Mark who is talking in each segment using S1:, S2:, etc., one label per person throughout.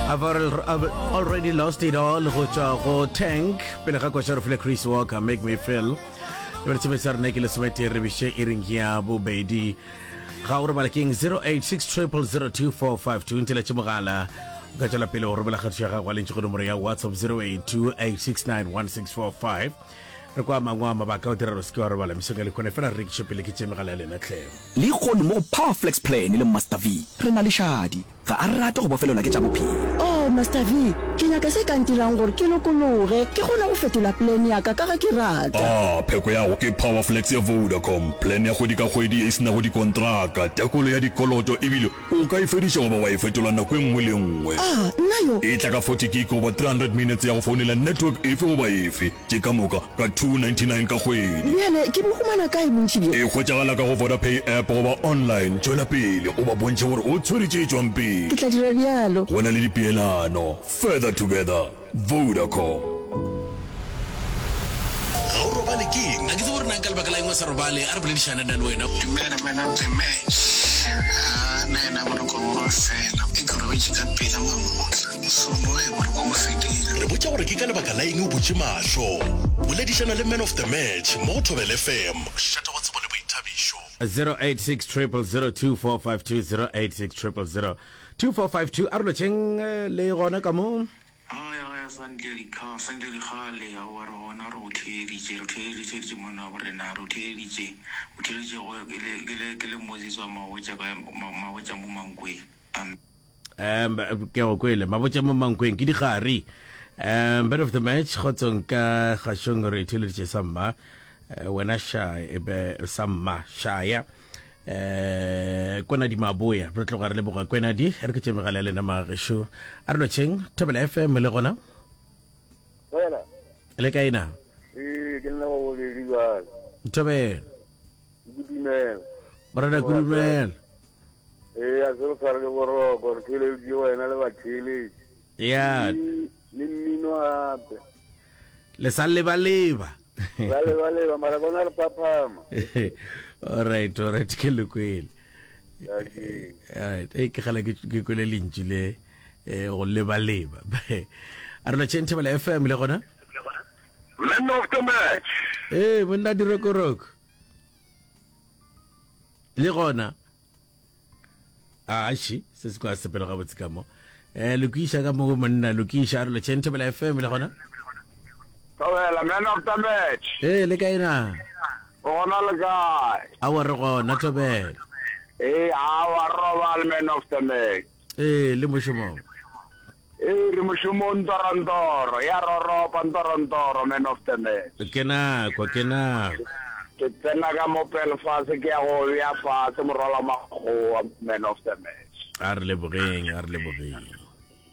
S1: I've already lost it all go tšwa go Tank pele ga koša re file Chris Walker Make Me Feel. Re tsebe sa rena ke lesometee re biše iring ya bobedi. Ga o robala keng 086 0002452 nteletše mogala o ka tšwela pele go romela kgatišo ya gago lentši go nomoro ya WhatsApp 0828691645 re kwa mangwe a mabaka o dira gore se ke wa robala mesong ya lekhone fela re rekiše pele ke tše megala ya lena tlhe.
S2: Lehono mo go Powerflex Plan le Master V re na le Shadi. Ga a rate go bofelelwa ke tša bophelo.
S3: Oh, Master V, ke nyaka se ka ntirang gore ke lokologe, ke kgone go fetola plan ya ka ka ge ke rata.
S4: Ah, pheko ya go ke Powerflex ya Vodacom, plan ya kgwedi ka kgwedi ye e se nago dikontraka, tekolo ya dikoloto ebile o ka e fediša goba wa e fetola nako e nngwe le e nngwe.
S3: Ah, nna yo!
S4: E tla ka 40 gig goba 300 minutes ya go founela network efe goba efe. Tše ka moka ka 299 ka kgwedi.
S3: Bjale ke bo humana kae bontši bjo?
S4: E hwetšagala ka go Vodapay app goba online. Tšwela pele o ba bontšhe gore o tshwere tše tšwang pele.
S3: Ke tla dira bjalo.
S4: Go na le dipeelano. Further together. Vodacom.
S5: Ga o robale ke eng? Ga ke tsebe gore na ka lebaka la eng o sa robale. A re boledišane nna le wena.
S6: Dumela man of the match. Haa nna yena boroko bo ba fela. E ke robetše ka pela mamotla. So no e boroko bo fedile.
S5: Re botša gore ke ka lebaka la eng o butše mahlo. Boledišana le man of the match mo go Thobela FM. Mošate wa tsebo le boithabišo.
S1: 086 000 2452 086 000 2452 a re lotšheng le gona ka mo.
S6: Aowa aowa Santle dikga Santle dikgale aowa re gona re go theeditše re theeditše monna wa borena re o theeditše o theeditše go ke le ke le ke le Moses wa Mabotja ka Mabotja mo Mankweng Amen.
S1: Um ke go kwele Mabotja mo Mankweng ke digare um man of the match kgotsong ka kgašong re theeleditše sa mma eh, wena sha ebe sa mma shaya eh kwenadi maboya re tloga re leboga kwenadi re ke tše megala ya lena magešo a re lotšheng thobela fm le gona
S7: Wena.
S1: le kae na
S7: Ee, ke nna wa bobedi bjale.
S1: thobela
S7: Ke dumela.
S1: morena kudumela
S7: Ee, a se re tshware ke boroko, re theeleditše wena le batheeletši.
S1: ya
S7: Le le mmino gape.
S1: Le sa lebaleba.
S7: Ba lebaleba mara bona re phaphama.
S1: Alright, alright, ke le kwele. Alright, e ke gala ke kwele lentšu le eh, go lebaleba. A re lotšheng Thobela FM le gona?
S7: Man of the match.
S1: Ee, monna dirokoroko. Le gona? Aši, se se kwa sepelo gabotse ka mo. Eh, lokiša ka mo monna, lokiša. A re lotšheng Thobela FM le gona?
S7: Thobela, man of the match.
S1: Ee, le kae na?
S7: O gona le kae?
S1: Aowa re gona, Thobela.
S7: Ee, aowa re robale, man of the match.
S1: Ee, le mošomong.
S7: Ee, re mošomong ntorontoro, ya roropa ntorontoro, man of the match.
S1: Ke nako, ke nako.
S7: Ke tsena ka mo Belfast ke ya go bea fase morwalo wa makgowa, man of the match.
S1: A re lebogeng, a re lebogeng.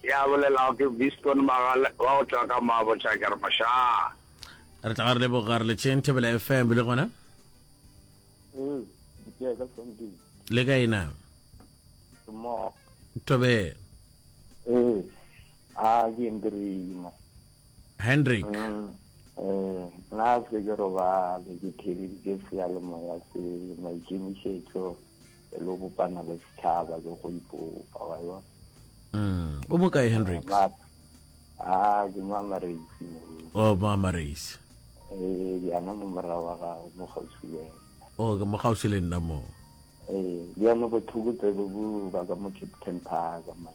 S7: Ya bolelago ke Viston Magale wa go tšwa ka Mabotja ke re mošaa.
S1: Re tla re leboga re letšeng Thobela FM le gona.
S8: Ee, ke ka Somding.
S1: Le kae na?
S8: Ke mo.
S1: Thobela.
S8: Ee, a ke Hendrina.
S1: Hendrik.
S8: Mm, eh, nna se ke robale ke theeleditše seyalemoya se maikemišetšo e le go bopana le setšhaba le go ipopa wa e bona.
S1: Mm. O mo kae Hendrik?
S8: A ke mo Amareisi mo.
S1: O mo Amareisi.
S8: Ee, bjana mo morago wa gago mo kgauswi le wena.
S1: O ke mo kgauswi le nna mo.
S8: Ee, bjalo bothoko-tsebe bo ba ka mo Kempton Park, man.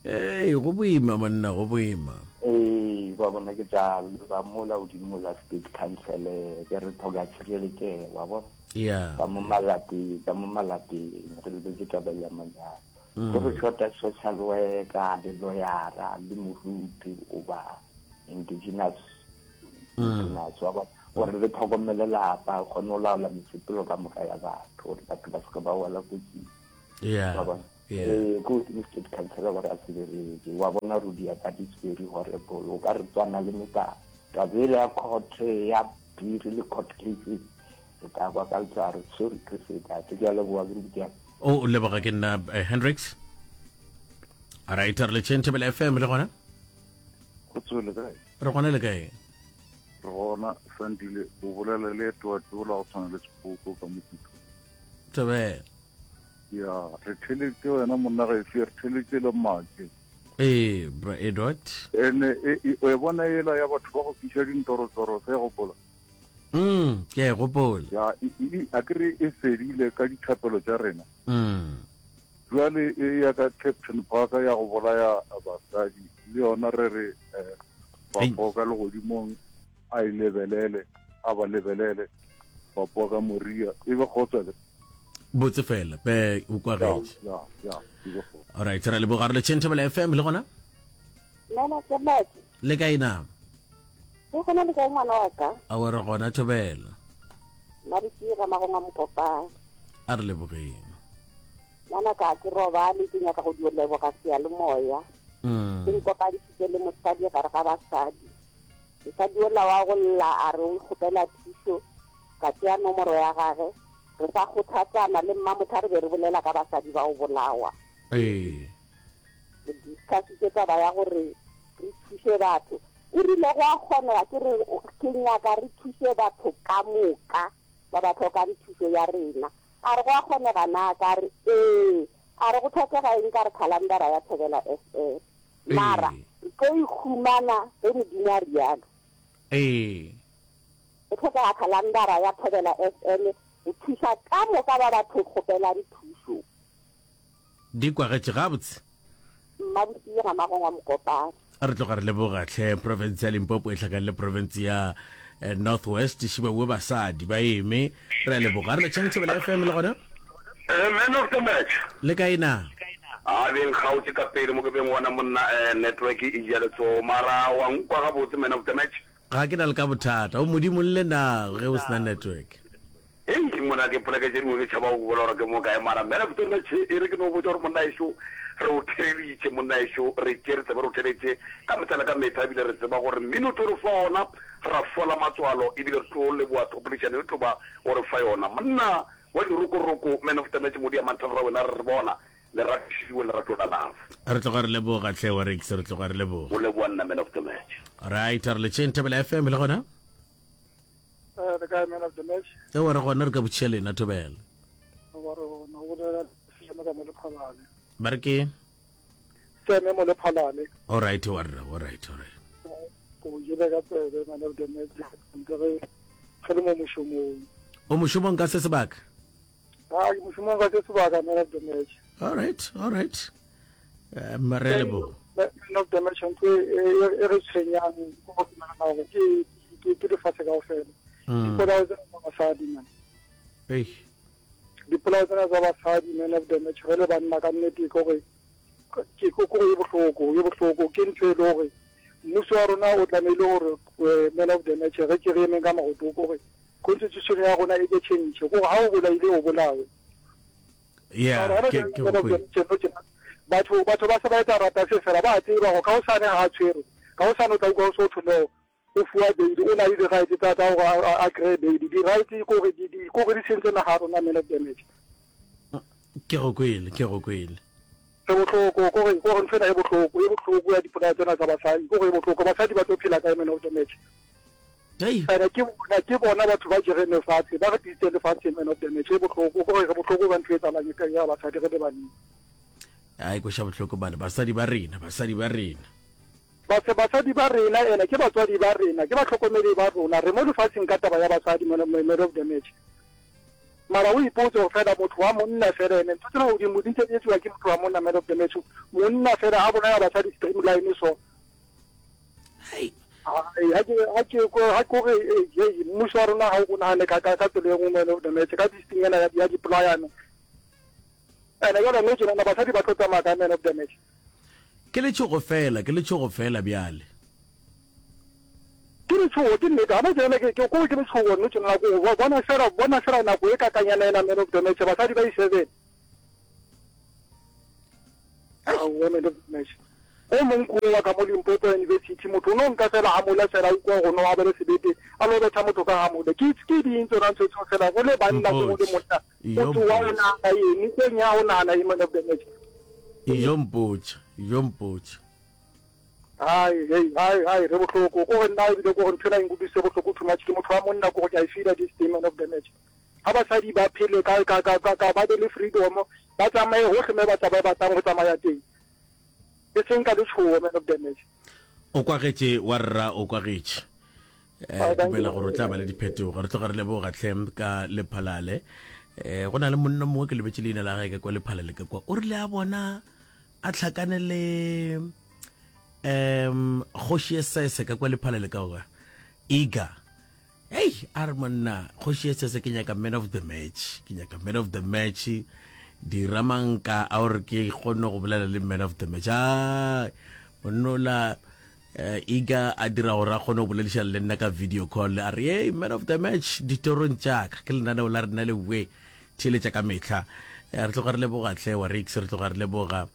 S1: Ee, go boima monna, go boima.
S8: Ee, ba bona ke tša ba mola godimo la state council, ke re tlhoka tšhireletšego, wa bona.
S1: Yeah.
S8: Ka mo malapeng, ka mo malapeng, re lebetse taba ya manyalo. Mm. Go re shota social worker, le lawyera, le moruti, goba indigenous mm. wa bona gore re tlhokomele lapa kgone go laola mesepelo ka moka ya batho gore batho ba seke ba wela kotsing
S1: wa
S8: bona ee ko godimo state council gore a se bereke wa bona rudi ya that is very horrible o ka re tswana le metaba taba ele ya court ya biri le court cases re tla kwa ka letswaro sorry ke se tate ke a leboga ke rudi
S1: o leboga ke nna eh, hendrix right re le tšhentšhe fm le gona
S9: go tswele kae
S1: Re gona le kae?
S9: Re gona, Sandile, o bolela le Edward ola go tshwana le Sepoko ka Mopitlo.
S1: Thobela.
S9: Ya, re theletše wena monna gaefe, re theletše le Make.
S1: Ee, bra Edward.
S9: Ene e, e, o e bona yela ya batho ba go fiša dintorotoro, sa e gopola?
S1: Mm, ke a e gopola.
S9: Ya, e, e, a ke re e fedile ka dithapelo tša rena.
S1: Mm.
S9: Jwale e ya ka Captain Park ya go bolaya basadi le yona re re eh, Papa ka legodimong a e lebelele, a ba lebelele Papa ka Moria e be kgotsa le
S1: Botse fela be o kwagetše.
S9: Ya, ya, e be kgotsa.
S1: All right, ra leboga re le Thobela FM le gona?
S10: Nana ke Matse.
S1: Le kae na?
S10: Le gona le kae ngwana wa ka?
S1: A re gona Thobela.
S10: Mabitsi ga magongwa mokopane.
S1: A re lebogeng.
S10: Ngwana ka ke robale ke nyaka go dio leboga seyalemoya.
S1: Mm.
S10: Ke nkopantšhitše le mosadi gare ga basadi. Mosadi ola wa go lla a re o kgopela thušo, ka tšea nomoro ya gage. Re sa kgothatsana le mmamotha re be re bolela ka basadi ba go bolawa.
S1: Ee.
S10: Re discussitše taba ya gore re thuše batho. O rile go a kgonega ke re ke nyaka re thuše batho ka moka ba ba hlokang thušo ya rena. A re go a kgonega na? Ka re ee. A re go hlokega eng? Ka re khalandara ya Thobela FM. Mara re tlo e humana ge Modimo a realo.
S1: Ee.
S10: Go hlokega khalandara ya Thobela FM go thuša ka moka ba ba tlo kgopelang thušo.
S1: Di kwagetše gabotse.
S10: Mmabosing ga Magongwa Mokopane.
S1: Re tloga re leboga hle province ya Limpopo e hlakane le province ya eh, North West šibaue basadi ba eme re a leboga re letšhang Thobela FM le gona
S7: Eh, man of the match.
S1: le kae na
S7: A beng kgaotse ka pele mo ke beng gona monna eh, network e ja letsogo mara wa nkwa gabotse man of the match.
S1: Ga ke na le ka bothata. O Modimo lle na ge o sena network.
S7: Hei monna ke poleke tše dingwe ke tšhaba go bolela gore ke mo kae mara man of the match e re ke no botša gore monna ešo re o theleditše monna ešo re tšere tsebe re o theletše ka mehla le ka mehla ebile re tseba gore mmino tlo re fa ona ra fola matswalo ebile re tlo leboga thopolešano e tlo ba o re fa yona monna wa dirokoroko man of the match Modiamantha rra wena re re bona Lerato šiwe lerato la love.
S1: Re tloga re leboga hle wa Rex, re tloga re leboga.
S7: O leboga nna man of the match.
S1: Right, re letšeng Thobela FM le gona?
S11: Eh, le kae man of the match?
S1: Ewa re gona re ka botšiša lena Thobela.
S11: Wa re gona o bolela Seme ka mo Lephalale.
S1: Ba re ke?
S11: Seme mo Lephalale.
S1: All right, wa rra, all right, all right.
S11: Ko jele ka tsebe man of the match. Ntse re re le mo mošomong.
S1: O mošomong ka se sebaka?
S11: Ah, ke mošomong ka se sebaka man of the match.
S1: All right, all right. Um, re a leboga.
S11: Man of the match ntho e, e, e re tshwenyang ko go nagana gore ke ke ke lefatshe kaofela.
S1: Mm.
S11: Dipolao tsena tsa basadi man.
S1: Ei.
S11: Dipolao tsena tsa basadi man of the match re le banna ka nnete ke gore ke ko gore e bohloko, e bohloko ke ntho e le gore mmuso wa rona o tlamehile gore eh, man of the match re ke re emeng ka maoto gore Constitution ya rona e ke change gore ha o bolaile o bolawe.
S1: Yeah, ke ke go kwele.
S11: Batho batho ba se ba etsa rata se fela ba tseba go ka o sane ha tshwere. Ka o sane o tla utlwa o so thwe no o fuwa bail o na le di right tsa tsa gore a kry bail. Di right ko re di ko re di sentse naga rona man of the match.
S1: Ke go kwele, ke go kwele.
S11: Re bohloko ko re ko re ntho ena e bohloko e bohloko ya dipolao tsena tsa basadi ko re e bohloko basadi ba tlo phela kae man of the match. Ene ke bona ke bona batho ba jereng lefatshe ba re tlisitseng lefatsheng man of the match e bohloko ko re re bohloko ka ntho e tsalang e ya basadi re le banna.
S1: Ai kweša bohloko bana basadi ba rena basadi ba rena.
S11: Base basadi ba rena ene ke batswadi ba rena ke bahlokomedi ba rona re mo lefatsheng ka taba ya basadi man man of the match. Mara o ipotse gore fela motho wa monna fela ene ntho tsena godimo di ntse di etsiwa ke motho wa monna man of the match monna fela a bolaya basadi streamline so.
S1: Hai.
S11: Ga ke ga ke ko ga ke gore eh, mmuso wa rona ga o nagane ka ka tsela e nngwe man of the match ka this thing ena ya ya dipolayano. Ene jale mme tjena basadi ba tlo tsamaya ka man of the match.
S1: Ke letšhogo fela, ke letšhogo fela bjale.
S11: Ke letšhogo, ke nnete. Gana tjena ke ke ko ke letšhogo nno tjena ko bona fela bona fela nako e kakanyana ena man of the match basadi ba i-seven. Aowa man of the match. O mong ko wa ka mo Limpopo University motho o no nka fela hamola fela a ukwa gore no a bele sebete a lo betha motho ka hamola. Ke ke ding tsona ntho tseo fela go le banna go le monna o tsoa o nahana eng o nya o nahana eng man of the match.
S1: Ijo mpotša, ijo mpotša.
S11: Hai hei hai hai re bohloko ko gore nna ebile ko gore ntho ena e nkutlwisitse bohloko too much ke motho wa monna ko gore ke a e feela this day man of the match. Ga basadi ba phele ka ka ka ka ba be le freedom ba tsamaye hohle me ba tsa ba batlang go tsamaya teng. E seng ka letšhogo, man of the match.
S1: O kwagetše wa rra, o kwagetše. Eh, dumela gore o tla ba le diphetogo. Re tloga re leboga hle ka Lephalale. Eh, go na le monna mongwe ke lebetše leina la gage ka kwa Lephalale ka kwa. O rile a bona a tlhakane le um kgoši e sese ka kwa Lephalale ka kwa. Iga. Hei, a re monna, kgoši e sese ke nyaka man of the match. Ke nyaka man of the match. Dira manka a gore ke kgone go bolela le man of the match. Ai, monna eh, Iga a dira gore a kgone go boledišana le nna ka video call. A re, hey, man of the match, ditorong tša ka. Ke lenaneo la rena le we theeletša ka mehla. Eh, re tloga re leboga hle wa Rix, re tloga re leboga.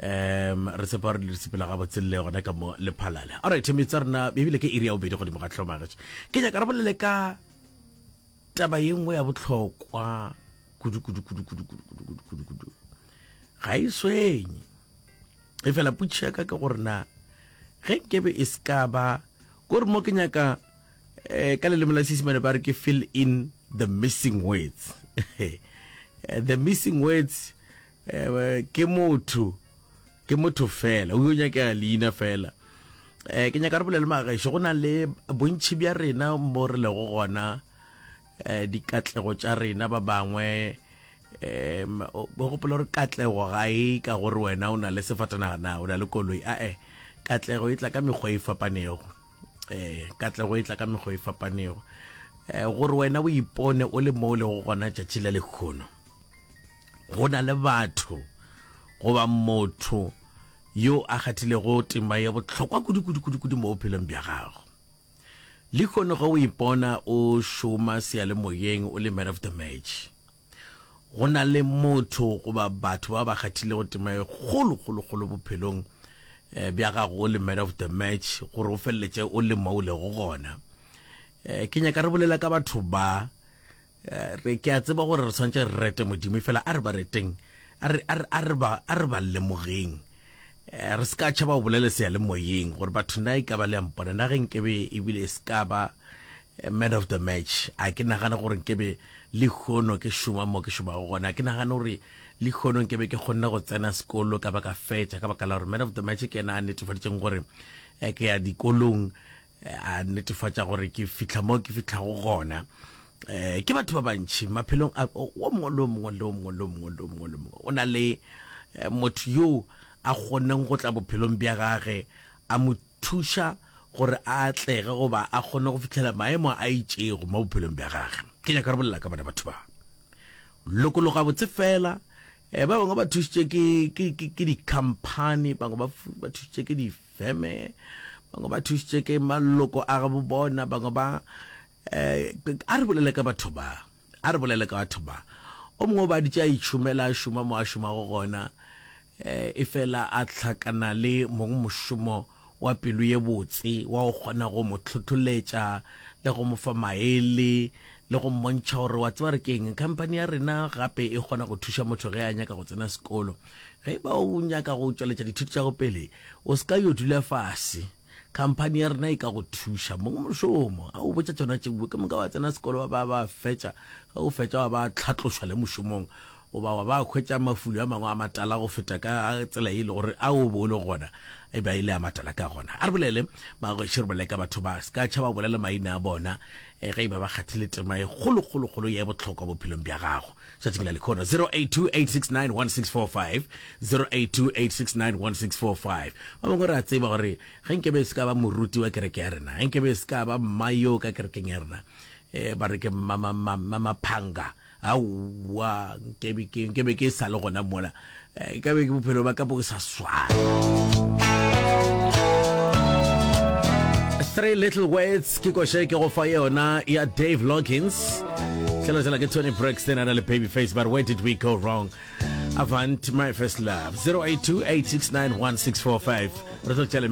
S1: Um re tshepa gore le sepela gabotse le gona ka mo lephalale. Alright, metsa rena ebile ke iri ya bobedi godimo ga tlhomagetše. Ke nyaka re bolele ka taba ye nngwe ya bohlokwa kudu kudu kudu kudu kudu kudu kudu kudu kudu. Ga e swenye. E fela potšišo ya ka ke gore na ge nkebe e se ka ba kore mo ke nyaka eh, ka leleme la Seisemane ba re ke fill in the missing words. The missing words Eh, ke motho ke motho fela o yo nyakega leina fela um ke nyaka re bolele magaešo go na le bontšhi bja rena mo re lego gona um dikatlego tša rena ba bangwe um o gopola gore katlego ga e ka gore wena o na le sefatanaga na o na le koloi ae katlego e tla ka mekgwa e fapanego um katlego e tla ka mekgwa e fapanego um gore wena o ipone o le mo o lego gona tšatši la lekgono Go na le batho goba motho yo a kgathilego tema ya bohlokwa kudu-kudu-kudu-kudu mo bophelong bja gago. Lehono ge o ipona o šoma seyalemoyeng o le man of the match, go na le motho goba batho ba ba kgathilego tema e kgolo-kgolo-kgolo bophelong eh, bja gago o le man of the match gore o feleletše o le mo o lego gona. Eh, ke nyaka re bolela ka batho ba Eh, re ke a tseba gore re tshwanetse re rete modimo fela a re ba reteng a re a re a re ba a re ba lemogeng eh, re se ka tšhaba go bolela seyalemoyeng gore batho na e ka ba le a mpona na ge nkebe ebile e se ka ba eh, man of the match a ke nagane gore nkebe lehono ke šoma mo ke šomago gona a ke nagane gore lehono nkebe ke kgonne go tsena sekolo ka ba ka fetša ka baka la gore man of the match ke ena a netefaditšeng gore eh, ke ya dikolong a netefatša gore ke fihla mo ke fihlago gona um ke batho ba bantšhi maphelong a o mongwe le o mongwe le o mongwe le o mongwe le o mongwe le mongwe o na le eh, motho yo a kgoneng go tla bophelong bja gage a mo thuša gore a atlege goba a kgone go fihlela maemo a itšego mo bophelong bja gage ke nyaka re bolela ka bona batho ba lokologa botse fela um ba bangwe ba thušitše ke di-company bangwe ba thušitše ke di feme bangwe ba thušitše ke maloko a gabo bona bangwe ba eh, a re bolele ka batho ba a re bolele ka batho ba o mongwe o ba ditše a itšhomela a šoma mo a šomago gona eh, e fela a hlakana le mong mošomo wa pelo ye botse wa go kgona go mo tlhotlholetša le go mo fa maele le go mmontšha gore wa tseba re keng company ya rena gape e kgona go thuša motho ge a nyaka go tsena sekolo ge ba o nyaka go tšweletša dithuto tša go pele O se ka yo dula fase. Khamphani ya rena e ka go thuša. Mongmošomo a o botša tšona tšeo, ke moka wa tsena sekolo wa ba ba fetša. Ge o fetša wa ba tlhatlošwa le mošomong goba wa ba hwetša mafulo a mangwe a matala go feta ka tsela e le gore a o be o le gona e be e le a matala ka gona. A re bolele magweše re bolele ka batho ba se ka tšhaba bolela maina a bona eh, ge e ba ba kgathile tema e kgolo kgolo kgolo ye bohlokwa bophelong bja gago. Tšatšing la lekhono 0828691645 0828691645 ba bangwe re a tseba gore ge nkebe e se ka ba moruti wa kereke ya rena ge nkebe e se ka ba mma yo ka kerekeng ya rena um ba re ke mmaphanga aowa nkebe ke nkebe ke sa le gona mola eh, ka be ke bophelo ba ka bo sa swana Three Little Words ke koše ke go fa yona ya Dave Loggins tlhela ke Toni Braxton a na le Babyface but where did we go wrong Avant my first love 082 869 1645 re tlo tšea le.